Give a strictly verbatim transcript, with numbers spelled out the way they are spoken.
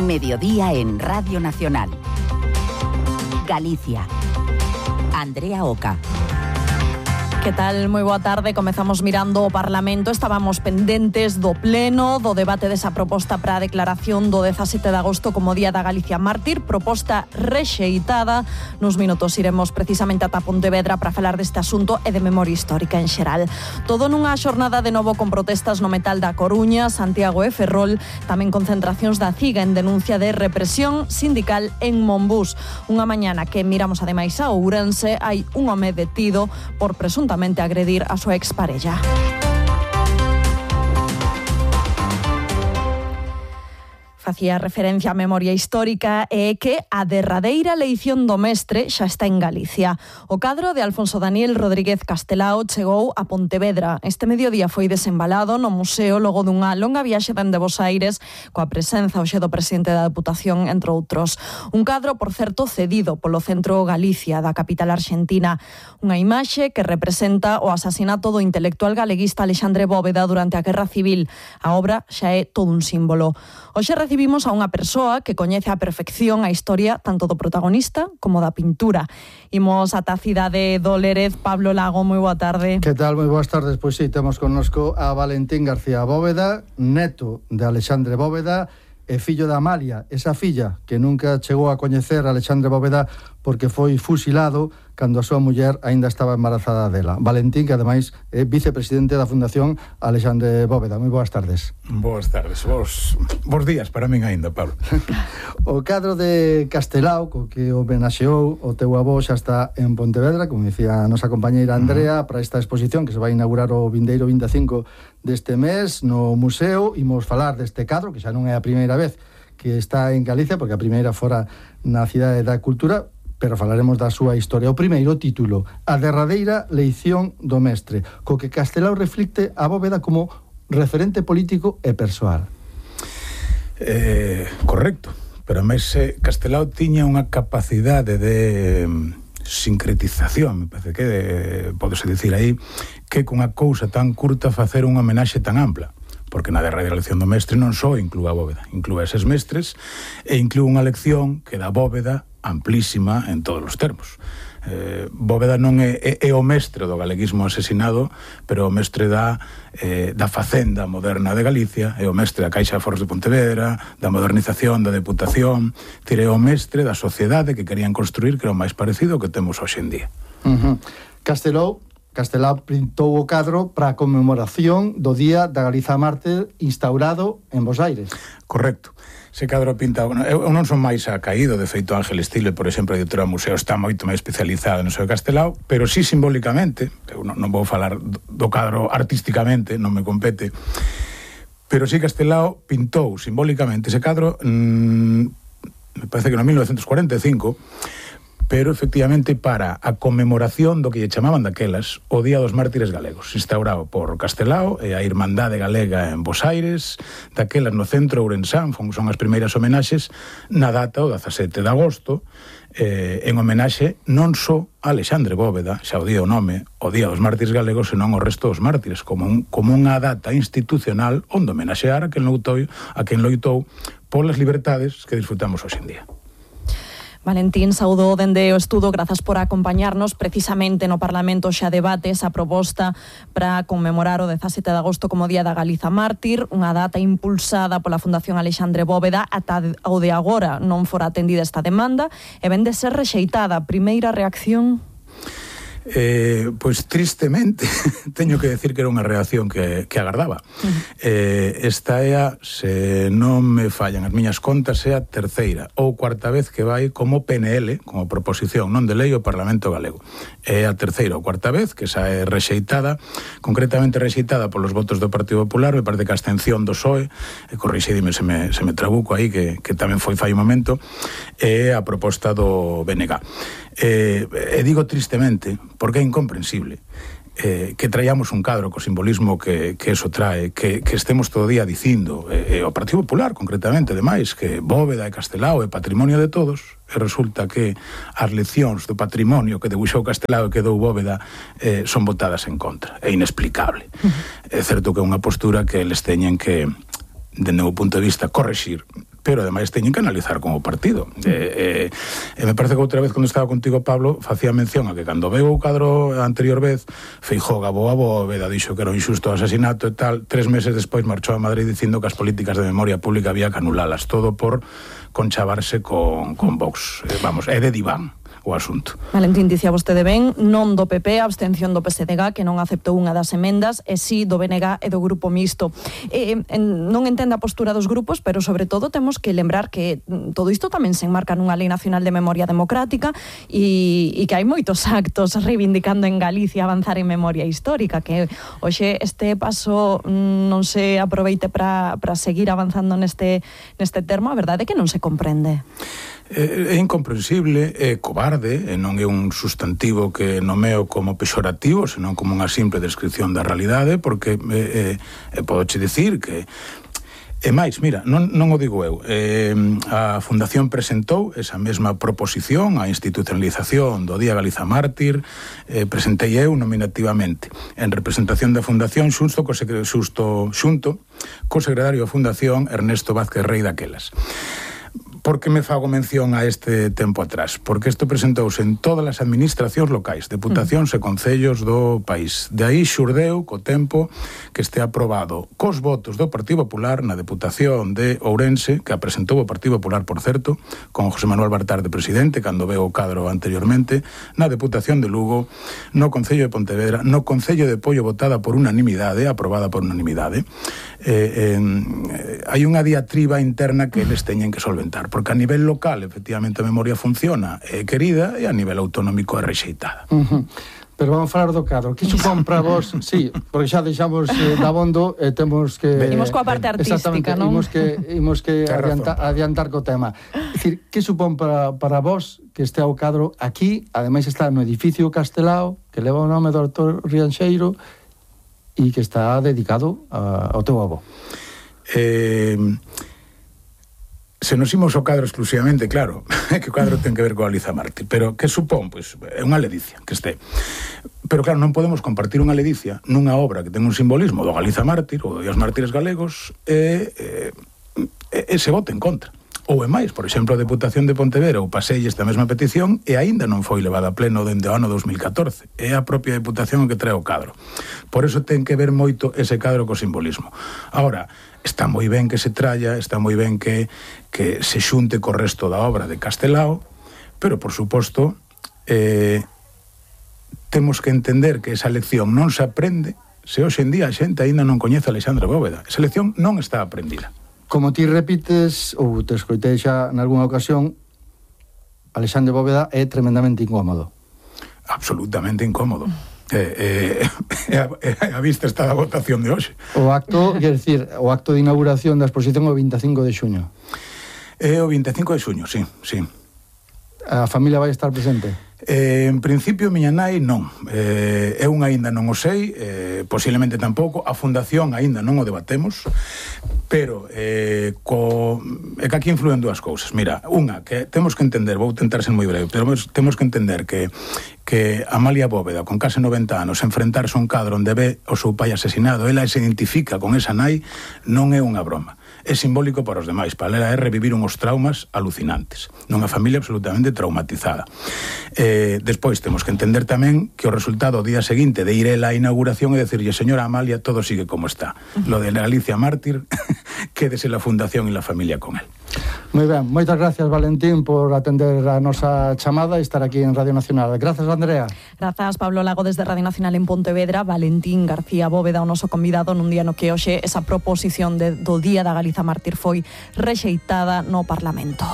Mediodía en Radio Nacional. Galicia. Andrea Oca. Que tal? Moi boa tarde. Comezamos mirando o Parlamento. Estábamos pendentes do pleno, do debate desa proposta para a declaración do dezasete de agosto como Día da Galicia Mártir, proposta rexeitada. Nos minutos iremos precisamente ata Pontevedra para falar deste asunto e de memoria histórica en xeral. Todo nunha xornada de novo con protestas no metal da Coruña, Santiago e Ferrol, tamén concentracións da CIGA en denuncia de represión sindical en Monbús. Unha mañana que miramos ademais a Ourense, hai un home detido por presuntamente agredir a súa exparella. Facía referencia á memoria histórica e que a derradeira eleición do mestre xa está en Galicia. O cadro de Alfonso Daniel Rodríguez Castelao chegou a Pontevedra. Este mediodía foi desembalado no museo logo dunha longa viaxe dende Bos Aires coa presenza hoxe do presidente da Deputación, entre outros. Un cadro, por certo, cedido polo Centro Galicia da capital argentina. Unha imaxe que representa o asasinato do intelectual galeguista Alexandre Bóveda durante a Guerra Civil. A obra xa é todo un símbolo. Hoxe recibimos a unha persoa que coñece a perfección a historia tanto do protagonista como da pintura. Imos ata a cidade do Lérez. Pablo Lago, moi boa tarde. Que tal? Moi boas tardes. Pois sí, temos connosco a Valentín García Bóveda, neto de Alexandre Bóveda e fillo de Amalia, esa filla que nunca chegou a coñecer a Alexandre Bóveda porque foi fusilado cando a súa muller aínda estaba embarazada dela. Valentín, que ademais é vicepresidente da Fundación Alexandre Bóveda. Moi boas tardes. Boas tardes, bos, bos días para min aínda, Pablo. O cadro de Castelao, co que homenaxeou o teu avó, xa está en Pontevedra, como dicía a nosa compañeira Andrea, para esta exposición que se vai inaugurar o vindeiro vinte e cinco deste mes no museo. Imos falar deste cadro, que xa non é a primeira vez que está en Galicia, porque a primeira fora na Cidade da Cultura, pero falaremos da súa historia. O primeiro título, a derradeira leición do mestre, co que Castelao reflicte a Bóveda como referente político e persoal. Eh, correcto, pero máis eh, Castelao tiña unha capacidade de sincretización, me parece que de, podese dicir aí, que con unha cousa tan curta facer unha homenaxe tan ampla. Porque na derradeira lección do mestre non só inclúa a Bóveda, inclúa eses mestres e inclúa unha lección que dá Bóveda amplísima en todos os termos. Eh, Bóveda non é, é, é o mestre do galeguismo asesinado, pero o mestre da, eh, da facenda moderna de Galicia, é o mestre da Caixa de Aforros de Pontevedra, da modernización da Deputación, tire o mestre da sociedade que querían construir, que era o máis parecido ao que temos hoxe en día. Uh-huh. Castelao Castelao pintou o cadro para a conmemoración do Día da Galiza Mártir instaurado en Bos Aires. Correcto. Ese cadro pinta... Eu non son máis acaído, de feito Ángel Stile, por exemplo, a editora do museo, está moito máis especializada no seu Castelao, pero sí simbólicamente, eu non, non vou falar do cadro artísticamente, non me compete, pero sí Castelao pintou simbólicamente ese cadro, mmm, me parece que no mil novecentos cuarenta e cinco, pero efectivamente para a conmemoración do que lle chamaban daquelas o Día dos Mártires Galegos, instaurado por Castelao e a Irmandade Galega en Bos Aires, daquelas no centro Ourensán, son as primeiras homenaxes na data o dezasete de agosto, eh, en homenaxe non só a Alexandre Bóveda, xa o día o nome, o Día dos Mártires Galegos, senón o resto dos mártires, como, un, como unha data institucional onde homenaxear a quen loitou, a quen loitou polas libertades que disfrutamos hoxe en día. Valentín, saúdo dende o estudo, grazas por acompañarnos. Precisamente no Parlamento xa debate esa proposta para conmemorar o dezasete de agosto como Día da Galiza Mártir, unha data impulsada pola Fundación Alexandre Bóveda. Ata o de agora non fora atendida esta demanda e ven de ser rexeitada. Primeira reacción? Eh, pois tristemente teño que decir que era unha reacción que, que agardaba. Uh-huh. eh, esta é a, se non me fallan as miñas contas, é a terceira ou cuarta vez que vai como P N L, como proposición non de lei ao Parlamento Galego. É a terceira ou cuarta vez que xa é rexeitada, concretamente rexeitada polos votos do Partido Popular, me parece que a abstención do P S O E, e corrixidime se me, se me trabuco aí, que, que tamén foi fai un momento, é a proposta do B N G. Eh, e digo tristemente, porque é incomprensible eh, que traíamos un cadro co simbolismo que, que eso trae, que, que estemos todo o día dicindo, eh, o Partido Popular concretamente, demais, que Bóveda e Castelao é patrimonio de todos, e resulta que as leccións do patrimonio que debuxou Castelao e que dou Bóveda eh, son votadas en contra. É inexplicable. Uh-huh. É certo que é unha postura que eles teñen que, dende o meu punto de vista, correxir, pero ademais teñen que analizar con o partido. Eh, eh, me parece que outra vez, cando estaba contigo, Pablo, facía mención a que cando veu o cadro a anterior vez, Feijóo gabou a Bóveda, dixo que era un injusto asasinato e tal, tres meses despois marchou a Madrid dicindo que as políticas de memoria pública había que anulalas, todo por conchavarse con, con Vox. Eh, vamos, é de diván o asunto. Valentín, dicía vostede ben, non do P P, abstención do P S D G, que non aceptou unha das emendas, e si do B N G e do Grupo Mixto. Eh, en, non entende a postura dos grupos, pero sobre todo temos que lembrar que todo isto tamén se enmarca nunha Lei Nacional de Memoria Democrática e, e que hai moitos actos reivindicando en Galicia avanzar en memoria histórica, que hoxe este paso non se aproveite para seguir avanzando neste, neste termo, a verdade é que non se comprende. É incomprensible, é cobarde, e non é un sustantivo que nomeo como pexorativo, senón como unha simple descripción da realidade, porque eh, eh, podoche dicir que e máis, mira, non, non o digo eu, eh, a Fundación presentou esa mesma proposición, a institucionalización do Día Galiza Mártir, eh, presentei eu nominativamente en representación da Fundación xunto co, xusto, xunto co secretario da Fundación Ernesto Vázquez Rey daquelas. Por que me fago mención a este tempo atrás? Porque isto presentouse en todas as administracións locais, deputacións e concellos do país. De aí xurdeu co tempo que este aprobado cos votos do Partido Popular na Deputación de Ourense, que a presentou o Partido Popular, por certo, con José Manuel Bartar de presidente, cando veo o cadro anteriormente, na Deputación de Lugo, no Concello de Pontevedra, no Concello de Pollo, votada por unanimidade, aprobada por unanimidade. Eh, eh, hai unha diatriba interna que eles teñen que solventar, porque a nivel local, efectivamente, a memoria funciona, é querida, e a nivel autonómico é rexeitada. Uh-huh. Pero vamos falar do cadro. Que supón para vos? Sí, porque xa deixamos eh, dabondo e eh, temos que... Imos coa parte artística, non? Imos que, imos que adiantar, adiantar co tema. É dicir, que supón para, para vos que este ao cadro aquí, ademais está no edificio Castelao, que leva o nome do autor Rianxeiro, e que está dedicado a, ao teu avó? Eh... Se nos imos ao cadro exclusivamente, claro, que o cadro ten que ver coa Galiza Mártir, pero que supón? Pois é unha ledicia que este. Pero claro, non podemos compartir unha ledicia nunha obra que ten un simbolismo do Galiza Mártir ou dos mártires galegos e, e, e se vote en contra. Ou é máis, por exemplo, a Deputación de Pontevedra ou pasei esta mesma petición e aínda non foi levada a pleno dende o ano dos mil catorce. É a propia Deputación que trae o cadro. Por eso ten que ver moito ese cadro co simbolismo. Ahora, está moi ben que se tralla, está moi ben que, que se xunte co resto da obra de Castelao, pero, por suposto, eh, temos que entender que esa lección non se aprende se hoxe en día a xente aínda non coñece a Alexandre Bóveda. Esa lección non está aprendida. Como ti repites, ou te escoitei xa nalgúna ocasión, Alexandre Bóveda é tremendamente incómodo. Absolutamente incómodo. Eh, eh, a, a vista está da votación de hoxe. O acto, quer decir, o acto de inauguración da exposición o vinte e cinco de xuño. É o vinte e cinco de xuño, sí, sí. A familia vai estar presente? Eh, en principio, miña nai non. Eh, eu aínda non o sei, eh, posiblemente tampouco. A Fundación aínda non o debatemos, pero eh, co... é que aquí influen dúas cousas. Mira, unha, que temos que entender, vou tentar ser moi breve, pero temos que entender que que Amalia Bóveda, con case noventa anos, enfrentarse a un cadro onde ve o seu pai asesinado, ela se identifica con esa nai, non é unha broma. É simbólico para os demais, para ela é revivir uns traumas alucinantes, nunha familia absolutamente traumatizada. Eh, despois temos que entender tamén que o resultado o día seguinte de ir a la inauguración é decirlle, señora Amalia, todo sigue como está. Lo de Galicia Mártir, quédese la Fundación e la familia con él. Moi ben, moitas gracias, Valentín, por atender a nosa chamada e estar aquí en Radio Nacional. Grazas, Andrea. Grazas, Pablo Lago, desde Radio Nacional en Pontevedra. Valentín García Bóveda, o noso convidado nun día no que hoxe esa proposición de, do Día da Galiza Mártir foi rexeitada no Parlamento.